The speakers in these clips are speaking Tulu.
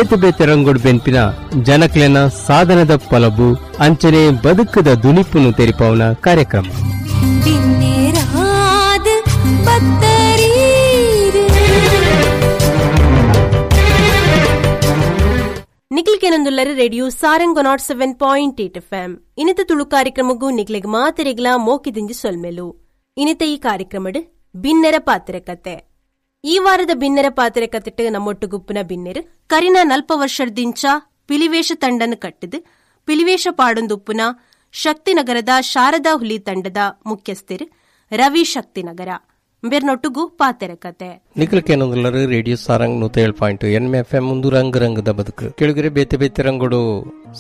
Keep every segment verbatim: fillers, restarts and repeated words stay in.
ಬೇತೆ ಬೇತೆ ರಂಗುಡ್ ಬೆನ್ಪಿನ ಜನಕ್ಲೆನ ಸಾಧನದ ಪಲಬು ಅಂಚನೆ ಬದುಕದ ದುನಿಪುನು ತೆರಿಪಾವನ ಕಾರ್ಯಕ್ರಮ. ನಿಕ್ಲಿಕೆನೊಂದುಲ್ಲರ radio Sarang nought seven point eight F M ಇನಿತ ತುಳು ಕಾರ್ಯಕ್ರಮಗೂ ನಿಕ್ಲೆಗ್ ಮಾತೆರೆಗ್ಲಾ ಮೋಕಿದಿಂಜಿ ಸೊಲ್ಮೆಲು. ಇನಿತ ಈ ಕಾರ್ಯಕ್ರಮಡ್ ಬಿನ್ನೆರ ಪಾತ್ರ ಕತೆ. ಈ ವಾರದ ಬಿನ್ನೆರ ಪಾತ್ರ ಕತೆಟ್ ನಮ್ಮೊಟ್ಟುಗುಪ್ಪುನ ಬಿನ್ನೆರು ಕರಿನ ನಲ್ಪ ವರ್ಷದಿಂಚ ಪಿಲಿವೇಶ ತಂಡನ್ನು ಕಟ್ಟಿದು ಪಿಲಿವೇಶ ಪಾಡೊಂದುಪ್ಪುನ ಶಕ್ತಿನಗರದ ಶಾರದಾ ಹುಲಿ ತಂಡದ ಮುಖ್ಯಸ್ಥರು ರವಿ ಶಕ್ತಿನಗರ ಬೇರ್ನೊಟ್ಟುಗು ಪಾತೆರ ಕತೆ. ನಿಖಲಕೇನೊಂದುಲ್ಲರು ರೇಡಿಯೋ ಸಾರಂಗ್ ನೂತ ಏಳು point N F M ಒಂದು ರಂಗ್ ರಂಗದ ಬದುಕು ಕೆಳಗರೆ ಬೇತೆ ಬೇತೆ ರಂಗುಡು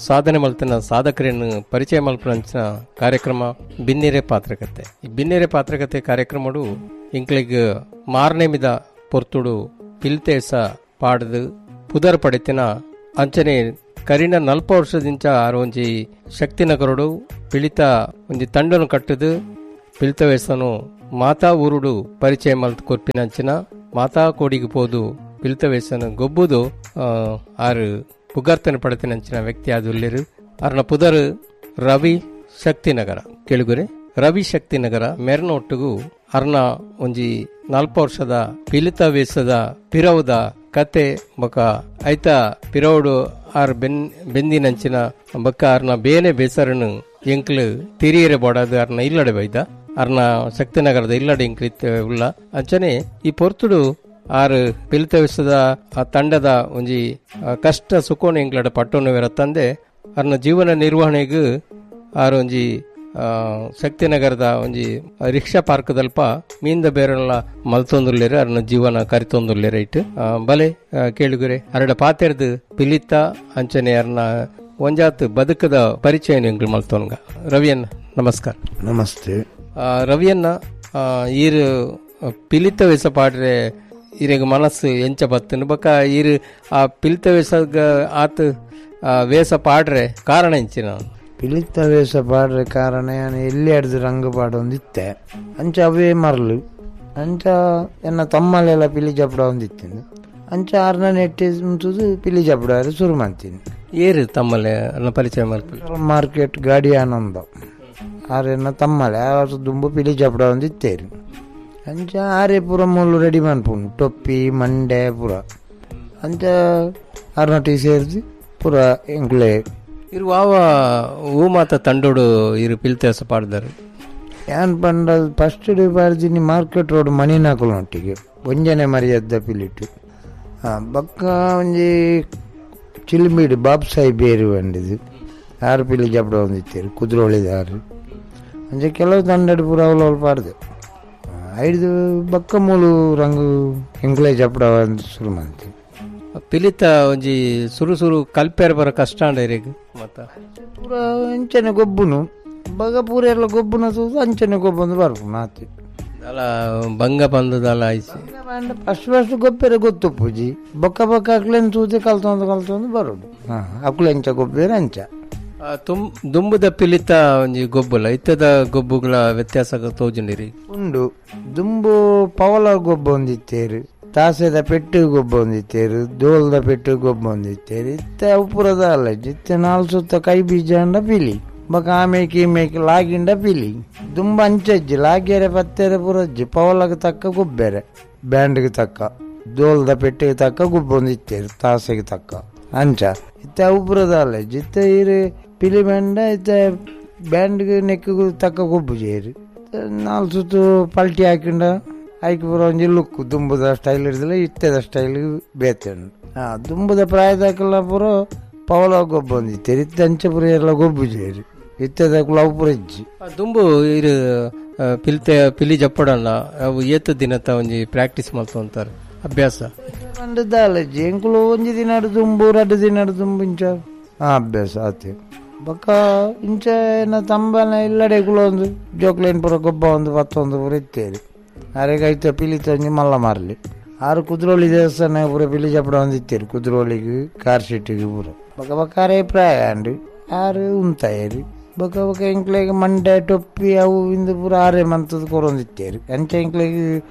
ಸಾಧನೆ ಮಲ್ತನ ಸಾಧಕರನ್ನು ಪರಿಚಯ ಮಲ್ಪನಂಚಿನ ಕಾರ್ಯಕ್ರಮ ಬಿನ್ನೆರೆ ಪಾತ್ರಕತೆ. ಈ ಬಿನ್ನೆರೆ ಪಾತ್ರಕತೆ ಕಾರ್ಯಕ್ರಮಡು ಇಂಕ್ಲಿಗ್ ಮಾರನೇಮಿದ ಪೊರ್ತುಡು ಪಿಲ್ತೇಸ ಪಾಡದು ಪುದರ್ ಪಡೆತಿನ ಅಂಚನೆ ಕರಿನ ನಲ್ಪ ವರ್ಷದಿಂಚ ಆರು ಒಂಜಿ ಶಕ್ತಿನಗರುಡು ಪಿಳಿತ ಒಂಜಿ ತಂಡನು ಕಟ್ಟದು ಪಿಳಿತ ವೇಸನು ಮಾತಾ ಊರುಡು ಪರಿಚಯ ಮಲ್ತ್ ಕೊರ್ಪಿನಂಚಿನ ಮಾತಾ ಕೋಡಿಗೆ ಪೋದು ಪಿಲಿತ ವೇಸನು ಗೊಬ್ಬುದು ಆರು ಪುಗರ್ತನೆ ಪಡೆತಿನಂಚಿನ ವ್ಯಕ್ತಿ ಆದುಲ್ಲೇರು. ಅರ್ನ ಪುದರ್ ರವಿ ಶಕ್ತಿನಗರ. ಕೇಳುಗುರೆ ರವಿ ಶಕ್ತಿನಗರ ಮೆರ್ನೊಟ್ಟುಗು ಅರ್ನ ಒಂಜಿ ನಾಲ್ಪ ವರ್ಷದ ಪಿಲಿತ ವೇಸದ ಪಿರವುದ ಕತೆ ಬೊಕ ಐತ ಪಿರವುಡು ಆರ್ ಬೆನ್ ಬೆಂದಿನಂಚಿನ ಬೊಕ್ಕ ಅರ್ನ ಬೇನೆ ಬೇಸರನು ಎಂಕ್ಲು ತಿರಿಯರೆ ಬೋಡಾದು ಅರ್ನ ಇಲ್ಲಡೆ ಬೈದ ಅರ್ನ ಶಕ್ತಿನಗರದ ಇಲ್ಲಡೆ ಇಂಕ್ಲಿತ್ ಉಲ್ಲ. ಅಂಚನೆ ಈ ಪೊರ್ತುಡು ಆರು ಪಿಲಿತ ವೇಸದ ಆ ತಂಡದ ಒಂಜಿ ಕಷ್ಟ ಸುಖೋನು ಎಂಕ್ಲಡ ಪಟ್ಟೋನು ತಂದೆ ಅರ್ನ ಜೀವನ ನಿರ್ವಹಣೆಗೆ ಆರು ಒಂಜಿ ಶಕ್ತಿನಗರದ ಒಂಜಿ ರಿಕ್ಷಾ ಪಾರ್ಕ್ದಲ್ಪ ಮೀನ್ದ ಬೇರೆಲ್ಲ ಮಲ್ತೊಂದುಲ್ಲೇರು ಅರ್ನ ಜೀವನ ಕರಿತೊಂದುಲ್ಲೇರು ಇಟ್ಟು ಬಲೆ ಕೇಳುಗುರೆ ಅರಡ ಪಾತೆರ್ದು ಪಿಲಿತ ಅಂಚನೆ ಅರ್ನ ಒಂಜಾತ್ ಬದುಕದ ಪರಿಚಯ ಎಂಕ್ಲು ಮಲ್ತೊನ್ಗ. ರವಿಯನ್ನ ನಮಸ್ಕಾರ. ನಮಸ್ತೆ ರವಿಯನ್ನ. ಈರು ಪಿಲಿತ ವೇಸ ಪಾಡ್ರೆ ಈರೆಗ್ ಮನಸ್ಸು ಎಂಚ ಬತ್ತನು ಬೊಕ್ಕ ಈರು ಆ ಪಿಲಿತ ವೇಸ ಆತ್ ವೇಸ ಪಾಡ್ರೆ ಕಾರಣ ಎಂಚಿನ? ಪಿಲಿತ ವೇಷ ಪಾಡ್ರೆ ಕಾರಣ ಎಲ್ಲಿ ಅಡ್ದು ರಂಗು ಪಾಡೊಂದಿತ್ತೆ ಅಂಚ ಅವೇ ಮರಲು ಅಂಚ ಎನ್ನ ತಮ್ಮಲೆಲ್ಲ ಪಿಲಿ ಜಪಡ ಒಂದಿತ್ತಿನ ಅಂಚ ಆರ್ನ ನೆಟ್ಟಿ ಉಂಟುದು ಪಿಲಿ ಜಪಡ ಶುರು ಮಾಡ್ತೀನಿ. ಏರು ತಮ್ಮಲೆ ಪರಿಚಯ ಮಾಡ್ತೀನಿ. ಮಾರ್ಕೆಟ್ ಗಾಡಿ ಆನಂದ ಆರೆನ್ನ ತಮ್ಮಲೆ ಆರು ದುಂಬು ಪಿಲಿ ಜಪಡ ಒಂದಿತ್ತೇರು ಅಂಚ ಆರೆ ಪೂರ ಮುಳ್ಳು ರೆಡಿ ಮನ್ಪುಂಡು ಟೊಪ್ಪಿ ಮಂಡೆ ಪೂರ ಅಂಚ ಆರ್ನೊಟ್ಟಿಗೆ ಸೇರಿಸಿ ಪೂರ ಎಂಕುಲೆ ಇರು ವಾವ ಹೂ ಮಾತ ತಂಡೋಡು ಇರು ಪಿಲ್ತೇಸ ಪಾಡ್ದಾರೆ. ಏನ್ ಪಂಡ ಫಸ್ಟ್ ಪಾಡ್ದಿನಿ ಮಾರ್ಕೆಟ್ ರೋಡ್ ಮಣಿನಾಕುಲೊಟ್ಟಿಗೆ ಒಂಜನೆ ಮರ್ಯಾದ ಪಿಲಿಟು ಬೊಕ್ಕ ಒಂಜಿ ಚಿಲ್ಮಿಡು ಬಾಬ್ ಸಾಹೇಬ್ ಬೇರು ಬಂದಿದ್ದು ಆರು ಪಿಲಿ ಜಪಡ ಒಂದಿತ್ತೇರು ಕುದುರೋಳಿದಾರು ಅಂಚೆ ಕೆಲವು ತಂಡಡು ಪೂರ ಅವಳು ಪಾಡ್ದೆ ಐದು ಬೊಕ್ಕ ಮೂಲು ರಂಗು ಎಂಕ್ಲೆ ಜಪಡ ಶುರು ಮಾಡ್ತೀವಿ. ಪಿಲಿತ ಒಂಜಿ ಸುರು ಸುರು ಕಲ್ಪೇರ್ ಬರ ಕಷ್ಟ ಅಂಡ ಮತ್ತ ಪೂರ ಅಂಚನೆ ಗೊಬ್ಬುನು ಬಗ ಪೂರ ಎಲ್ಲ ಗೊಬ್ಬುನ ತೂದು ಅಂಚನೆ ಗೊಬ್ಬಂದು ಬರ್ಪುನು ಆತಿ ಅಲ್ಲ ಬಂಗ ಬಂದದಲ್ಲ ಐಸಿ ಫಸ್ಟ್ ಫಸ್ಟ್ ಗೊಬ್ಬೆರೆ ಗೊತ್ತು ಪೂಜಿ ಬೊಕ್ಕ ಬೊಕ್ಕ ಅಕ್ಲೆನ್ ತೂದೆ ಕಲ್ತೊಂದು ಕಲ್ತೊಂದು ಬರೋಡು. ಹಾ ಅಕ್ಲೆ ಅಂಚ ಗೊಬ್ಬೇರೆ ಅಂಚ ತುಂ ದುಂಬುದ ಪಿಲಿತ ಒಂಜಿ ಗೊಬ್ಬುಲ ಇತ್ತದ ಗೊಬ್ಬುಗಳ ವ್ಯತ್ಯಾಸ ತೋಜುಂಡಿರಿ ಉಂಡು. ದುಂಬು ಪವಲ ಗೊಬ್ಬ ಒಂದಿತ್ತೇರು, ತಾಸೆದ ಪೆಟ್ಟು ಗೊಬ್ಬ ಒಂದಿತ್ತೇರು, ದೋಲ್ದ ಪೆಟ್ಟು ಗೊಬ್ಬ ಒಂದಿತ್ತೇರು. ಇತ್ತೆ ಅವು ಪೂರದ ಅಲ್ಲ ಇತ್ತೆ ನಾಲ್ ಸುತ್ತ ಕೈ ಬೀಜ ಅಂಡ ಪಿಲಿ ಬೊಕ ಆಮೇಕೆ ಈಮೇಕೆ ಲಾಗಿಂಡ ಪಿಲಿ ದುಂಬ ಅಂಚಜ್ಜಿ ಲಾಗ್ಯರೆ ಪತ್ತೆರೆ ಪೂರಜ್ಜಿ ಪವಲಗೆ ತಕ್ಕ ಗೊಬ್ಬೆರೆ ಬ್ಯಾಂಡ್ಗೆ ತಕ್ಕ ದೋಲ್ದ ಪೆಟ್ಟಿಗೆ ತಕ್ಕ ಗೊಬ್ಬ ಒಂದಿತ್ತೇರು ತಾಸೆಗೆ ತಕ್ಕ ಅಂಚ. ಇತ್ತೆ ಅವು ಪೂರದ ಅಲ್ಲ ಇತ್ತೆ ಇರು ಪಿಲಿ ಬ್ಯಾಂಡ ಇತ್ತೆ ಬ್ಯಾಂಡ್ಗೆ ನೆಕ್ಕಿಗೂ ತಕ್ಕ ಗೊಬ್ಬು ಜೇರು ನಾಲ್ ಸುತ್ತು ಪಲ್ಟಿ ಹಾಕಿಂಡ ಐಕ್ ಪೂರ ಒಂಜಿ ಲುಕ್ ದುಂಬುದ ಸ್ಟೈಲ್ ಇರ್ದಿಲ್ಲ ಇತ್ತೆದ ಸ್ಟೈಲ್ ಬೇತೆ ಉಂಡು. ಹಾಂ ದುಂಬುದ ಪ್ರಾಯದಾಕಲ್ಲ ಪೂರ ಪವಲ ಗೊಬ್ಬ ಒಂದಿತ್ತೇರು ಇತ್ತೆ ಅಂಚೆ ಪೂರ ಎಲ್ಲ ಗೊಬ್ಬು ಜೇರು ಇತ್ತೆದಕ್ಕೂ ಅವು ಪೂರ ಇಜ್ಜಿ. ದುಂಬು ಇರು ಪಿಲಿತೆ ಪಿಲಿ ಜಪ್ಪಡಲ್ಲ ಅವು ಏತ ದಿನತ ಒಂಜಿ ಪ್ರಾಕ್ಟೀಸ್ ಮಲ್ತೊಂತಾರೆ ಅಭ್ಯಾಸ ದಾಲಜ್ಜಿ ಎಂಕುಲು ಒಂಜಿ ದಿನ ದುಂಬು ರಡ್ಡು ದಿನ ದುಂಬು ಇಂಚ ಅಭ್ಯಾಸ ಆತೆ ಬೊಕ್ಕ ಇಂಚ ಏನ ತಂಬನ ಇಲ್ಲಡೆ ಒಂದು ಜೋಕ್ಲೇನ್ ಪೂರ ಗೊಬ್ಬ ಒಂದು ಪತ್ತೊಂದು ಪೂರ ಇತ್ತೇರಿ ಅರೆಗೆ ಐತ ಪಿಲಿತ ಒಂಜಿ ಮಲ್ಲ ಮಾರ್ಲಿ ಆರು ಕುದ್ರೋಳಿ ದೇವಸ್ಥಾನ ಪೂರ ಪಿಲಿ ಜಪಡ ಒಂದು ಇತ್ತೇರಿ ಕುದ್ರೋಳಿಗೆ ಕಾರ್ ಸೀಟಿಗೆ ಪೂರ ಬೊಕ್ಕ ಬೊಕ್ಕ ಅರೆ ಪ್ರಾಯ ಅಂಡು ಆರು ಉಂತಾಯರಿ ಬೊಕ್ಕ ಬೊಕ್ಕ ಎಂಕ್ಲೆಗ್ ಮಂಡೆ ಟೊಪ್ಪಿ ಅವು ಇಂದು ಪೂರ ಆರೆ ಮಂತದ ಕೊರೊಂದಿತ್ತೇರಿ ಅಂಚ ಎಂಕ್ಲೆಗ್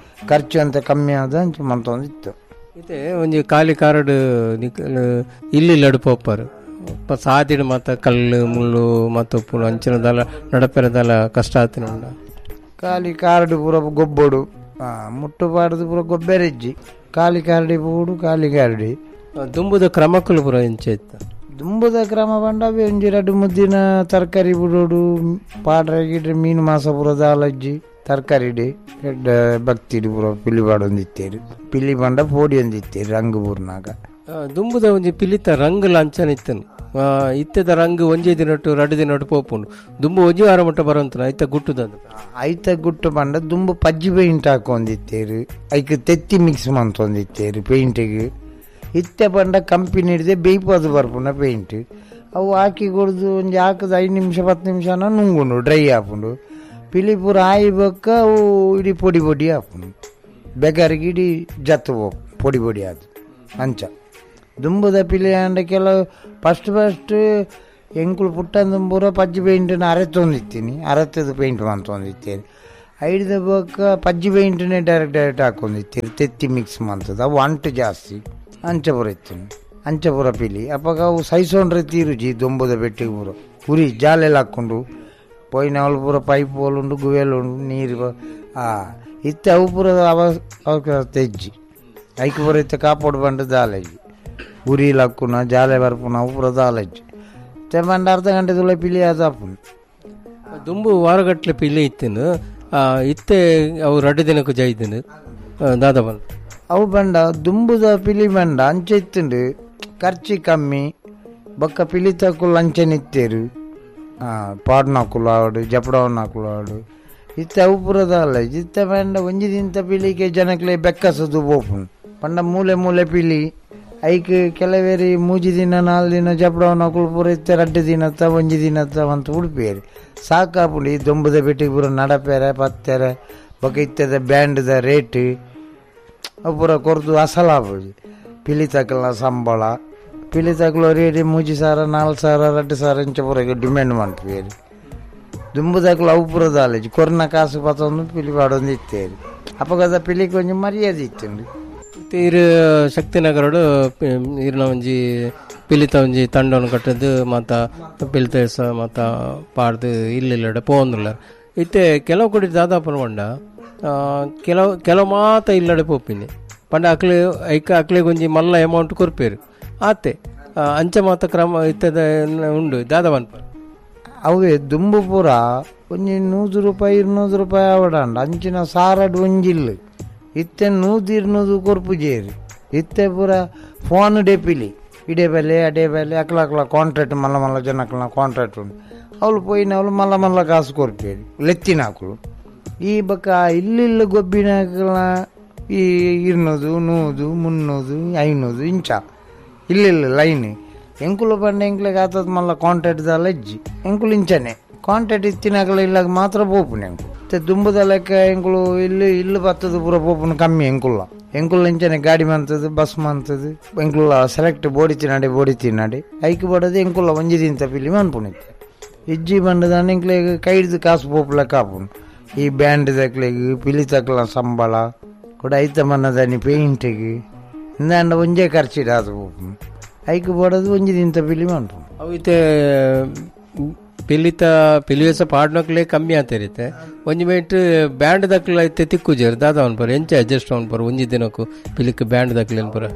ಖರ್ಚು ಅಂತ ಕಮ್ಮಿ ಆದ ಅಂಚ ಮಂತೊಂದಿತ್ತು. ಇತ್ತೆ ಒಂಜಿ ಖಾಲಿ ಕಾರಡ್ ಇಲ್ಲಿ ಲಡು ಪೋಪರ್ ಸಾದಿಡು ಮಾತ ಕಲ್ಲು ಮುಳ್ಳು ಮಾತ ಉಪ್ಪುನು ಅಂಚಿನ ದಲ ನಡಪೆರದಲ ಕಷ್ಟ ಆತಿನ ಉಂಡ. ಖಾಲಿ ಕಾರ್ಡ್ ಪೂರ ಗೊಬ್ಬೊಡು, ಮುಟ್ಟು ಪಾಡ್ದು ಪೂರ ಗೊಬ್ಬೆರೆಜ್ಜಿ, ಖಾಲಿ ಕಾರ್ಡಿ ಪೂಡು ಖಾಲಿ ಕಾರ್ಡಿ. ದುಂಬುದ ಕ್ರಮಕ್ಕಲು ಪೂರ ಇಂಚ ಇತ್ತು. ದುಂಬುದ ಕ್ರಮ ಪಂಡ ಒಂಜಿ ರಡ್ಡು ಮುದ್ದಿನ ತರಕಾರಿ ಬಿಡೋಡು, ಪಾಡ್ರೆ ಗಿಡ್ರೆ ಮೀನು ಮಾಸ ಪೂರ ದಾಲಜ್ಜಿ ತರಕಾರಿ ಎಡ್ಡ ಭಕ್ತಿಡು ಪೂರ ಪಿಲಿ ಪಾಡೊಂದಿತ್ತೇರು. ಪಿಲಿ ಪಂಡ ಪೋಡಿ ಒಂದಿತ್ತೇರು ರಂಗು ಪೂರ್ನಾಗ. ದುಂಬುದ ಒಂಜಿ ಪಿಲಿತ ರಂಗು ಲಾಂಛನ ಇತ್ತನು. ಇತ್ತದ ರಂಗು ಒಂಜೇ ದಿನಟ್ಟು ರಡ್ಡು ದಿನಟ್ಟು ಪೋಪುಂಡು. ದುಂಬು ಒಂಜಿ ವಾರ ಮಟ್ಟ ಬರೋಂತ ಐತ ಗುಟ್ಟುದ ಐತ ಗುಟ್ಟು ಪಂಡ ದುಂಬು ಪಜ್ಜಿ ಪೇಂಟ್ ಹಾಕೊಂದಿತ್ತೇರು, ಐಕ್ ತೆತ್ತಿ ಮಿಕ್ಸ್ ಮಂತೊಂದಿತ್ತೇರು ಪೇಂಟಿಗೆ. ಇತ್ತೆ ಪಂಡ ಕಂಪನಿ ಹಿಡಿದೆ ಬೇಯ್ಪದು ಬರ್ಪುನ ಪೇಂಟ್ ಅವು ಹಾಕಿ ಕೊಡ್ದು ಒಂಜಿ ಹಾಕದ ಐದು ನಿಮಿಷ ಪತ್ತು ನಿಮಿಷನ ನುಂಗುಂಡು ಡ್ರೈ ಆಪುಂಡು. ಪಿಲಿ ಪೂರ ಆಯಿ ಬೊಕ್ಕ ಅವು ಇಡೀ ಪೊಡಿ ಪೊಡಿ ಆಪುಂಡು, ಬೆಗರಿಗೆ ಇಡೀ ಜತ್ತು ಪೊಡಿ ಪೊಡಿ ಆದು ಅಂಚ. ದುಂಬುದ ಪಿಲಿ ಅಂಡ ಕೆಲವು ಫಸ್ಟ್ ಫಸ್ಟ್ ಎಂಕುಲು ಪುಟ್ಟ ದುಂಬೂರ ಪಜ್ಜಿ ಪೇಂಟನ್ನು ಅರೆತೊಂದಿತ್ತೀನಿ, ಅರೆತದ ಪೇಂಟ್ ಮಂತೊಂದಿತ್ತೇನೆ. ಐಡ್ದ ಬೊಕ್ಕ ಪಜ್ಜಿ ಪೇಂಟನ್ನೇ ಡೈರೆಕ್ಟ್ ಡೈರೆಕ್ಟ್ ಹಾಕೊಂದಿತ್ತೀರಿ, ತೆತ್ತಿ ಮಿಕ್ಸ್ ಮಂತದ ಅವು ಅಂಟು ಜಾಸ್ತಿ ಅಂಚಪುರ ಇತ್ತು ಅಂಚಪುರ ಪಿಲಿ. ಅಪ್ಪಾಗ ಅವು ಸೈಸೋಂಡ್ರೆ ತೀರುಜಿ ದೊಂಬುದ ಬೆಟ್ಟಿಗೆ ಪೂರ ಉರಿ ಜಾಲೆಲ್ಲ ಹಾಕ್ಕೊಂಡು ಪೋಯಿನ ಅವಳು ಪೂರ ಪೈಪ್ ಹೋಲುಂಡು ಗುವೆಲ್ ಉಂಡು ನೀರು ಆ ಇತ್ತೆ ಅವು ಪೂರ ಅವ ತೆಜ್ಜಿ ಐಕ್ ಪೂರ ಇತ್ತೆ ಕಾಪೋಡು ಬಂಡು ದಾಲಜ್ಜಿ ಉರಿಲ್ ಹಾಕುನ ಜಾಲೆ ಬರ್ಪುನ ಅವು ಪೂರ ದಾಲಜ್ಜಿ ಇತ್ತೆ ಬಂಡ ಅರ್ಧ ಗಂಟೆ ತುಳ ಪಿಲಿ ಅದಾಪುಂಡು. ದುಂಬು ವಾರಗಟ್ಟಲೆ ಪಿಲಿ ಇತ್ತಿನ ಇತ್ತೆ ಅವು ರಡ್ಡು ದಿನಕ್ಕೂ ಜೈದಿನ ದಾದ ಬಂದು ಅವು ಬಂಡ ದುಂಬುದ ಪಿಲಿ ಬಂಡ ಅಂಚೆ ಇತ್ತುಂಡು ಖರ್ಚಿ ಕಮ್ಮಿ ಬೊಕ್ಕ ಪಿಲಿ ತಕ್ಕುಲು ಅಂಚೆ ಇತ್ತೇರು ಪಾಡ್ನಾಕುಲು ಆವಡು ಜಪಡವನಾಕುಲು ಆವಡು ಇತ್ತೆ ಅವು ಪೂರದ ಅಲ್ಲ. ಇತ್ತೆ ಬಂಡ ಒಂಜಿ ದಿನದ ಪಿಲಿಗೆ ಜನಕ್ಲೆ ಬೆಕ್ಕಸದು ಪೋಪುಂಡು ಪಂಡ ಮೂಲೆ ಮೂಲೆ ಪಿಲಿ ಐಕ್ ಕೆಲವೇರಿ ಮೂಜಿ ದಿನ ನಾಲ್ ದಿನ ಜಪಡವನಾಕುಲು ಪೂರ ಇತ್ತೆ ರಡ್ಡು ದಿನತ್ತ ಒಂಜಿ ದಿನತ್ತ ಅಂತ ಉಡುಪೇರು ಸಾಕಾಪುಂಡು. ಈ ದೊಂಬುದ ಬೆಟ್ಟಿಗೆ ಪೂರ ನಡಪೇರೆ ಪತ್ತೆರೆ ಬೊಕ್ಕ ಇತ್ತದ ಬ್ಯಾಂಡ್ದ ರೇಟ್ ಅವು ಪೂರ ಕೊರ್ದು ಅಸಲಾಪುಜಿ. ಪಿಲಿ ತಕಲ್ನ ಸಂಬಳ ಪಿಲಿ ತಕಲು ರೇಟ್ ಮೂಜಿ ಸಾವಿರ ನಾಲ್ಕು ಸಾವಿರ ರಡ್ಡು ಸಾವಿರ ಇಂಚ ಪೂರ ಡಿಮ್ಯಾಂಡ್ ಮಾಡ್ತೀವಿ. ದುಂಬು ತಕಲು ಅವು ಪೂರ ದಾಲೇಜಿ ಕೊರ್ನ ಕಾಸು ಪತ್ತೊಂದು ಪಿಲಿ ಪಾಡೊಂದು ಇತ್ತೇರಿ ಅಪ್ಪಗದ ಪಿಲಿಗೆ ಒಂಜಿ ಮರ್ಯಾದೆ ಇತ್ತುಂಡು. ಇರು ಶಕ್ತಿನಗರಡು ಇರ್ನ ಒಂಜಿ ಪಿಲಿತ ಒಂಜಿ ತಂಡವನ್ನು ಕಟ್ಟದು ಮಾತ ಪಿಲಿತ ಮಾತ ಪಾಡ್ದು ಇಲ್ಲಿಲ್ಲಡೆ ಪೋಂದುಲ್ಲ. ಇತ್ತೆ ಕೆಲವು ಕೊಡಿ ದಾದಾಪನ ಪಂಡ ಕೆಲವು ಕೆಲವು ಮಾತ ಇಲ್ಲಡೆ ಪೋಪಿನಿ ಪಂಡ ಅಕ್ಲೆ ಐಕ ಅಕ್ಲೆಗ್ ಒಂಜಿ ಮಲ್ಲ ಅಮೌಂಟ್ ಕೊರ್ಪೇರು ಆತೆ ಅಂಚ ಮಾತ ಕ್ರಮ ಇತ್ತದ ಉಂಡು ದಾದ ಪನ್ಪ. ಅವೇ ದುಂಬು ಪೂರ ಒಂಜಿ ನೂದು ರೂಪಾಯಿ ಇರ್ನೂರು ರೂಪಾಯಿ ಆವಡಂಡ ಅಂಚಿನ ಸಾರಡ್ ಒಂಜಿಲ್ಲು ಇತ್ತೆ ನೂದು ಇರ್ನೂದು ಕೊರ್ಪುಜೇರು. ಇತ್ತೆ ಪೂರ ಫೋನ್ ಡೆಪಿಲಿ ಇಡೇ ಬೆಲೆ ಅಡೇ ಬೆಲೆ ಅಕ್ಲ ಅಕ್ಲ ಕಾಂಟ್ರಾಕ್ಟ್ ಮಲ್ಲ ಮಲ್ಲ ಜನಕ್ಲ ಕಾಂಟ್ರಾಕ್ಟ್ ಉಂಡು ಅವಳು ಪೋಯಿನ ಅವಳು ಮಲ್ಲ ಮಲ್ಲ ಕಾಸು ಕೊರ್ಪೇರು ಲೆತ್ತಿನಾಕುಲು. ಈ ಬಕ್ಕ ಇಲ್ಲಿಲ್ಲ ಗೊಬ್ಬಿನಾಕಲ ಈ ಇರ್ನೂದು ನೂದು ಮುನ್ನೂದು ಐನೂದು ಇಂಚ ಇಲ್ಲಿಲ್ಲ ಲೈನ್ ಎಂಕುಲು ಪಂಡ ಎಂಕ್ಲೆಗ್ ಆತದ ಮಲ್ಲ ಕಾಂಟ್ರಾಕ್ಟ್ ದಾಲ ಇಜ್ಜಿ ಎಂಕುಲು ಇಂಚನೆ ಕಾಂಟ್ರಾಕ್ಟ್ ಇತ್ತಿನಾಕಲ ಇಲ್ಲಾಗ ಮಾತ್ರ ಪೋಪುನ ಎಂಕುಲು. ಮತ್ತೆ ದುಂಬುದ ಲೆಕ್ಕ ಎಂಕುಲು ಇಲ್ಲಿ ಇಲ್ಲು ಬತ್ತದ ಪೂರ ಪೋಪುನ ಕಮ್ಮಿ ಎಂಕುಲ್ಲ ಎಂಕುಲು ಇಂಚನೆ ಗಾಡಿ ಮಂತದ್ದು ಬಸ್ ಮಂತದ್ದು ಎಂಕುಲ್ಲ ಸೆಲೆಕ್ಟ್ ಬೋಡಿ ತಿನ್ನಾಡೆ ಬೋಡಿ ತಿನ್ನಾಡೆ ಐಕ್ ಬಡೋದು ಎಂಕುಲ್ಲ ಒಂಜಿ ದಿನ ಪಿಲಿ ಮನ್ಪುನಿತ್ತೆ ಇಜ್ಜಿ ಬಂಡದಾನ ಎಂಕ್ಲೆಗ್ ಕೈ ಹಿಡ್ದು ಕಾಸು ಪೋಪುಲ ಕಾಪುನು. ಈ ಬ್ಯಾಂಡ್ ತಕ್ಲೆಗ್ ಪಿಲಿ ತಕ್ಲ ಸಂಬಳ ಕೂಡ ಐತ ಮನ್ನದಾನಿ ಪೇಂಟಿಗೆ ಇಂದಾಂಡ ಒಂಜೇ ಖರ್ಚಿಡಾದು ಪೋಪುನು ಐಕ್ ಬೋಡೋದು ಒಂಜಿ ದಿನ ಪಿಲಿ ಮನ್ಪುನು. ಅವು ಇತ್ತೆ ಪಿಲಿತ ಪಿಲಿವೇಸ ಪಾಡ್ನಕ್ಲೆ ಕಮ್ಮಿ ಆತರಿತ್ತೆ ಒಂಜಿ ಮೇಟ್ ಬ್ಯಾಂಡ್ ದಕ್ಲ ಇತ್ತೆ ತಿಕ್ಕುಜೇರು ದಾದ ಅನ್ಪರ ಎಂಚ ಅಡ್ಜಸ್ಟ್ ಅನ್ಪರ ಒಂಜಿ ದಿನಕ್ಕೂ ಪಿಲಿಕ್ ಬ್ಯಾಂಡ್ ದಕ್ಲೆ ಅನ್ಪರ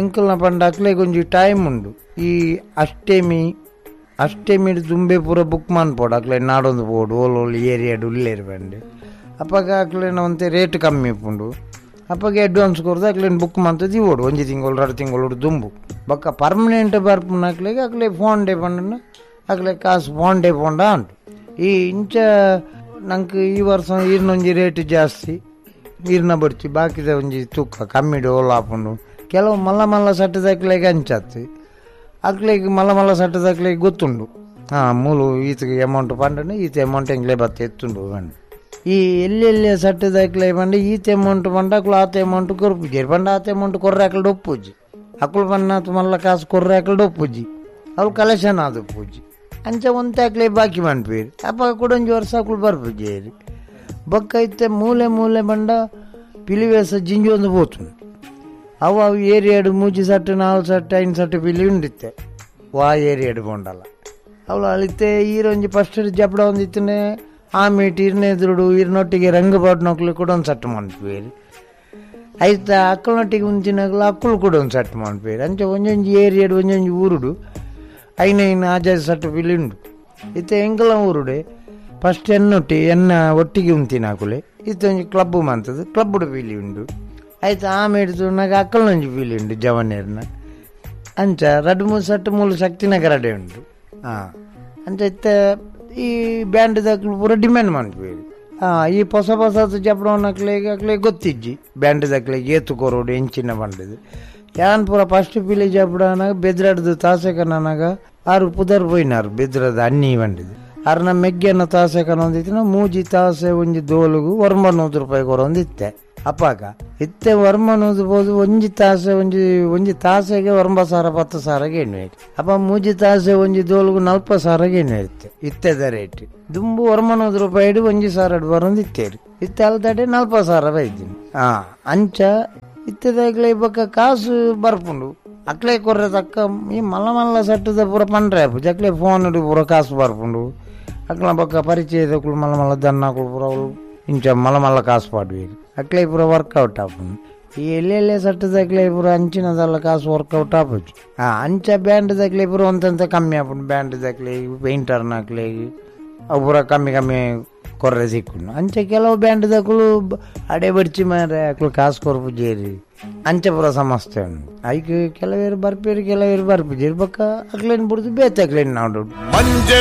ಎಂಕಲ್ನ ಪಂಡ ಅಕ್ಲೆಗ್ ಒಂಜಿ ಟೈಮ್ ಉಂಡು. ಈ ಅಷ್ಟೆಮಿ ಅಷ್ಟೆಮಿ ದುಂಬೆ ಪೂರ ಬುಕ್ ಮನ್ಪೋಡು ಅಕ್ಲೆ ನಾಡೊಂದು ಪೋಡು ಓಲ್ ಓಲ್ ಏರಿಯಾಡು ಉಲ್ಲೇರು ಬಂಡು ಅಪ್ಪಗ ಅಕ್ಲೆನ ಒಂತೆ ರೇಟ್ ಕಮ್ಮಿ ಉಂಡು ಅಪ್ಪಗೆ ಅಡ್ವಾನ್ಸ್ ಕೊರ್ದು ಅಕ್ಲೇನು ಬುಕ್ ಮಂತದ್ದು ಇವೋಡು ಒಂಜಿ ತಿಂಗಳು ಎರಡು ತಿಂಗಳು ದುಂಬು ಬೊಕ್ಕ ಪರ್ಮನೆಂಟ್ ಬರ್ಪುನ ಅಕ್ಲೆಗ್ ಅಕ್ಲೆ ಫೋನ್ ಡೇ ಪಂಡ ಅಕ್ಲೆ ಕಾಸು ಫೋನ್ ಡೇ ಪೋಂಡ ಉಂಟು. ಈ ಇಂಚ ನಂಗೆ ಈ ವರ್ಷ ಈರ್ನೊಂಜಿ ರೇಟ್ ಜಾಸ್ತಿ ಈರ್ನ ಬಡ್ತಿ ಬಾಕಿದ ಒಂಜಿ ತೂಕ ಕಮ್ಮಿ ಡೋಲ್ ಆಪುಂಡು. ಕೆಲವು ಮಲ್ಲ ಮಲ್ಲ ಸಟ್ಟದಕ್ಲೆಗ್ ಅಂಚಾತು ಅಕ್ಲೆಗ್ ಮಲ್ಲ ಮಲ್ಲ ಸಟ್ಟದಕ್ಲೆಗ್ ಗೊತ್ತುಂಡು ಹಾಂ ಮೂಲು ಈತಗೆ ಅಮೌಂಟ್ ಪಂಡನೆ ಈತ ಅಮೌಂಟ್ ಎಂಗ್ಲೇ ಬತ್ತ ಎತ್ತುಂಡು ಪಂಡ ಈ ಎಲ್ಲೆಲ್ಲಿ ಸಟ್ಟದಕ್ಲೆ ಪಂಡ ಈತ ಅಮೌಂಟ್ ಪಂಡ ಅಕ್ಲು ಆತ ಅಮೌಂಟ್ ಕೊರ್ಪುಜಿ ಪಂಡ ಆತ ಅಮೌಂಟ್ ಕೊರ್ರೆ ಅಕ್ಲು ಡೊಪ್ಪುಜಿ ಅಕ್ಲು ಪನ್ನಾತು ಮಲ್ಲ ಕಾಸು ಕೊರ್ರೆ ಅಕ್ಲು ಡೊಪ್ಪುಜಿ ಅವ್ಳು ಕಲೆಕ್ಷನ್ ಆದ ಪೂಜಿ ಅಂಚ ಒಂತೆ ಅಕ್ಲೆ ಬಾಕಿ ಮನ್ಪೇರು ಅಪ್ಪ ಕೂಡ ಒಂಜಿ ವರ್ಷ ಅಕ್ಲು ಬರ್ಪುಜೇರು ಬೊಕ್ಕ ಇತ್ತೆ ಮೂಲೆ ಮೂಲೆ ಬಂಡ ಪಿಲಿವೇಸ ಜಿಂಜಿ ಒಂದು ಪೋತುಂಡು. ಅವು ಅವು ಏರಿಯಾಡು ಮೂಜಿ ಸಟ್ಟು ನಾಲ್ ಸಟ್ಟು ಐನ್ ಸಟ್ಟು ಪಿಲಿ ಉಂಡಿತ್ತೆ ವಾ ಏರಿಯಾಡು ಪೋಂಡಲ್ಲ ಅವಳು ಅಳಿತೆ ಈರೊಂಜಿ ಫಸ್ಟ್ ಜಬಡ ಒಂದಿತ್ತನೆ ಆ ಮೀಟ್ ಇರ್ನ ಎದುರುಡು ಇರ್ನೊಟ್ಟಿಗೆ ರಂಗು ಪಾಡ್ನೊಕ್ಲು ಕೂಡ ಒಂದು ಸಟ್ಟು ಮನ್ಪುವೇರು ಐತ ಅಕ್ಕಳನೊಟ್ಟಿಗೆ ಮುಂಚಿನಗಳು ಅಕ್ಕಳು ಕೂಡ ಒಂದು ಸೆಟ್ ಮನ್ಪೇರು ಅಂಚೆ ಒಂಜೊಂಜಿ ಏರಿಯಾಡು ಒಂಜೊಂಜಿ ಊರುಡು ಐನೈನ್ ಆಜಾಜಿ ಸಟ್ಟು ಪಿಲಿ ಉಂಡು ಇತ್ತೆ ಎಂಕಲ ಊರುಡೆ ಫಸ್ಟ್ ಎನ್ನೊಟ್ಟಿ ಎನ್ನ ಒಟ್ಟಿಗೆ ಉಂತಿನಾಕುಲೆ ಇತ್ತೊಂಜಿ ಕ್ಲಬ್ ಮಂತದ್ದು ಕ್ಲಬ್ಬುಡು ಪೀಲಿ ಉಂಡು ಆಯ್ತು ಆಮೇಲೆ ನಾಗ ಅಕ್ಕಳನೊಂಜಿ ಪೀಲಿ ಉಂಡು ಜವನೇರ್ನ ಅಂಚ ರಡ್ಡು ಮೂರು ಸಟ್ಟು ಮೂಲು ಶಕ್ತಿನಗರ ರಡೆ ಉಂಡು ಹಾಂ ಅಂಚ ಇತ್ತ ಈ ಬ್ಯಾಂಡ್ ದಕ್ಲು ಪೂರ ಡಿಮ್ಯಾಂಡ್ ಮನ್ಪೇರು ಹಾಂ ಈ ಹೊಸ ಹೊಸದು ಜಪಡವನಕ್ಲೆಗೆ ಅಕ್ಲೆ ಗೊತ್ತಿಜ್ಜಿ ಬ್ಯಾಂಡ್ ದಕ್ಲೆಗೆ ಏತು ಕೊರೋಡು ಎಂಚಿನ ಬಂಡದು ಯಾನ್ ಪೂರ ಫಸ್ಟ್ ಪಿಲಿ ಜಪಡನಾಗ ಬೆದ್ರಾಡ್ದು ತಾಸೆಕನಾಗ ಆರು ಪುದರ್ ಪೋಯಿನಾರು ಬೆದ್ರದ ಅಣ್ಣಿ ಬಂಡಿದು ಅರ್ನ ಮೆಗ್ಗೆನ ತಾಸೆಕನ ಒಂದಿತ್ತಿನ ಮೂಜಿ ತಾಸೆ ಒಂಜಿ ದೋಲುಗು ವರ್ಮ ನೂರು ರೂಪಾಯಿ ಕೊರೊಂದಿತ್ತೆ ಅಪ್ಪಾಗ ಇತ್ತೆ ವರ್ಮ ನೂದು ಬೋದು ಒಂಜಿ ತಾಸೆ ಒಂಜಿ ಒಂಜಿ ತಾಸೆಗೆ ವರ್ಮ ಸಾರ ಪತ್ತು ಸಾರಗೆ ಎಣ್ಣೆ ಅಪ್ಪ ಮೂಜಿ ತಾಸೆ ಒಂಜಿ ದೋಲುಗು ನಲ್ಪ ಸಾರಗೆ ಎಣ್ಣೆ ಇತ್ತೆ ಇತ್ತೆದ ರೇಟ್ ದುಂಬು ವರ್ಮ ನೂದು ರೂಪಾಯಿ ಒಂಜಿ ಸಾರ ಬರೊಂದು ಇತ್ತೇರು ಇತ್ತೆ ಅಲ್ದಡೆ ನಲ್ಪ ಸಾರ ಬೈದಿನಿ ಹಾ ಅಂಚ ಇತ್ತೆದಾಗ್ಲೇ ಬೊಕ್ಕ ಕಾಸು ಬರ್ಪುಂಡು ಅಕ್ಲೆ ಕೊರ್ರೆ ತಕ್ಕ ಈ ಮಲ್ಲ ಮಲ್ಲ ಸಟ್ಟದ ಪೂರ ಪಂಡ್ರೆ ಜಕ್ಲೆ ಫೋನ್ ಪೂರ ಕಾಸು ಬರ್ಪುಂಡು ಅಕ್ಲ ಬೊಕ್ಕ ಪರಿಚಯದಕ್ಕಳು ಮಲ್ಲ ಮಲ್ಲ ದನ್ನಕುಳು ಪೂರ ಅವ್ಲು ಇಂಚ ಮಲ್ಲ ಮಲ್ಲ ಕಾಸು ಪಾಡುವೇರು ಅಕ್ಲೆ ಪೂರ ವರ್ಕೌಟ್ ಆಪುಂಡು ಈ ಎಲ್ಲೆಲ್ಲೆ ಸಟ್ಟದಕ್ಲೆ ಪೂರ ಅಂಚಿನದಲ್ಲ ಕಾಸು ವರ್ಕೌಟ್ ಆಪುಜಿ ಆ ಅಂಚ ಬ್ಯಾಂಡ್ ದಕ್ಲೆ ಪೂರ ಒಂತಂತ ಕಮ್ಮಿ ಆಪುಂಡು ಬ್ಯಾಂಡ್ ದಕ್ಲೆ ಪೇಂಟರ್ನಕ್ಲೆ ಅವು ಪೂರ ಕಮ್ಮಿ ಕಮ್ಮಿ ಕೊರ್ರೆ ಸಿಕ್ಕುಂಡು ಅಂಚ ಕೆಲವು ಬ್ಯಾಂಡ್ ದಕ್ಕಳು ಅಡೆ ಬಡ್ಚಿ ಮಾರೆ ಅಕ್ಲು ಕಾಸು ಕೊರ್ಪು ಜೇರಿ ಅಂಚ ಪೂರ ಸಮಸ್ಯೆ ಉಂಡು ಐಕ್ ಕೆಲವೇರು ಬರ್ಪೇರು ಕೆಲವೇರು ಬರ್ಪುಜೇರು ಬೊಕ್ಕ ಅಕ್ಲೇನ್ ಬುಡ್ದು ಬೇತೆ ಅಕ್ಲೇನ್ ನಾಡು ಮಂಜೆ